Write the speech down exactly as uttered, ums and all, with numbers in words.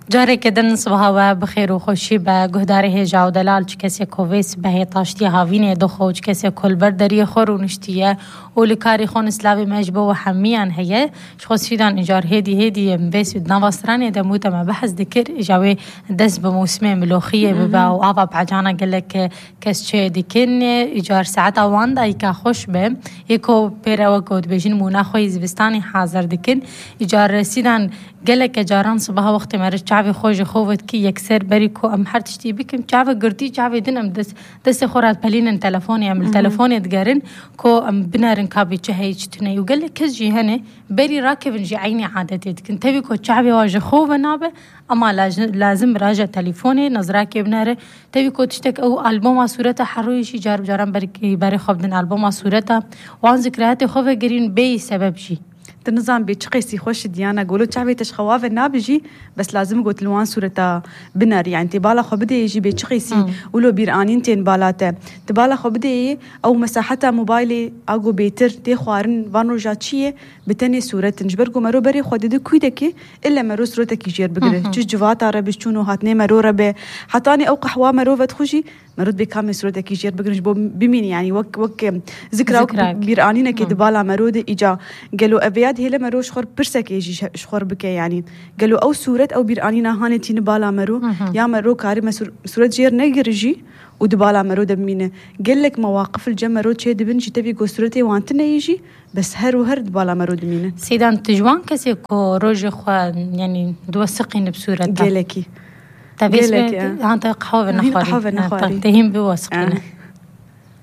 Careke din sibaha we bi xêr û xweşî be, guhdarê hêja û delal, çi kesê ku vê sibehê taştiya havînê dixwe û çi kesê ku li ber deriyê xwe rûniştiye û li karî xwe nislavê me ji bo we hemiyan heye. Ji xwe Sîdan îcar hêdî hêdî em vê sî-, nava stranê de mû te me behs dikir, îja wê dest bi mûsimê miloxiyê bibe û ava pecana gelek kes çê dikin. Îcar saeta wan dayika xweş be, yê ku pê re wek ku dibêjin mûna xwe yî zivistanê hazir dikin. Îcar Sîdan geleke caran sibaha wextê meriv çavê xwe ji xwe vedikî yekser berî ku em her tiştî bikin, çavê girtî, çavê din em dest, destê xwe re dipelînin telefonê, em li telefonê digerin ku em binerin ka bê çi heye, çi tune ye. Û gelek kes jî hene berî rakevin jî eynî adetê dikin. Tevî ku çavê wa ji xwe ve nabe, ama laj-, lazim raja telefonê, nezrakê binere. Tevî ku tiştek ew alboma sûreta heroyê jî car bi caran berî, berê xwe bidin alboma sûreta. Wan zikrayetê xwe vegirîn bêyî sebeb jî. Tu nizan bê çi qêsî xweş diyana golo çavê te ji xewa ve nabijî, bes lazim got li wan sûreta binerî, yani tê bala xwe bideyê jî bê çi qêsî Hmm. wilo bîranîn tên bala te. Tu bala xwe bideyê, ew mesaheta mobaylê a go bêtir tê xwarin van roja çi ye, bi tenê sûret in. Ji ber ku mero berê xwe dide kûdekê, ille mero sûretekî jêr bigire. Hı hı. Çi civata re bi, çûn û hatinê mero re be. Hetanî ew qehwa mero vedixwe jî, mero dibê kamê sûretekî jêr bigire ji bo bimîne, yani wek, wek, em, zikra û Zikrak. bîranînekê Hı. di bala mero de îca. Gelo ev ya dihêle mero ji xwe re pirsekê jî ji, ji xwe re bike, yani. Gelo ew sûret, ew bîranîna hanê tîni bala mero, Hı hı. ya mero karî me sûr-, sûret jêr negire jî û di bala mero de bimîne. Gelek mewaqif li cem mero çê dibin jî, tevî ku sûretê wan tune yî jî, bes her û her di bala mero dimîne. Sîdan, tu ji wan kesê ku rojê xwe, yani, diwesiqîne bi sûreta? Gelekî. Te vê Gelekî, sibê, e. han te qehwe Hîn nexwarî. qehwe Ha, nexwarî. te hîn biwesiqîne. E.